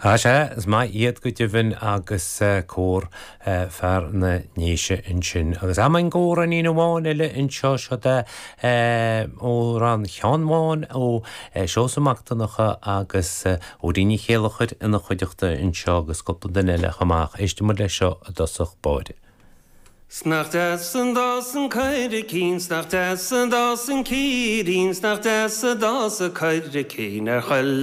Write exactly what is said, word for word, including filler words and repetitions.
Á sea, is maith iad go deimhin agus cór fear na nDéise ansin. Agus am an amhráinín amháin eile anseo seo de amhrán Sheáin Bháin ó Seosamh Mac Donncha agus Odín Ní Chéilleachair ina chuideachta anseo agus cúpla duine eile chomh maith. Éistfidh muid leis seo i dtosach báire. 'S nach deas an dás an coiricín, 's nach deas an dás an círín, 's nach deas an dás an coiricín ar chuile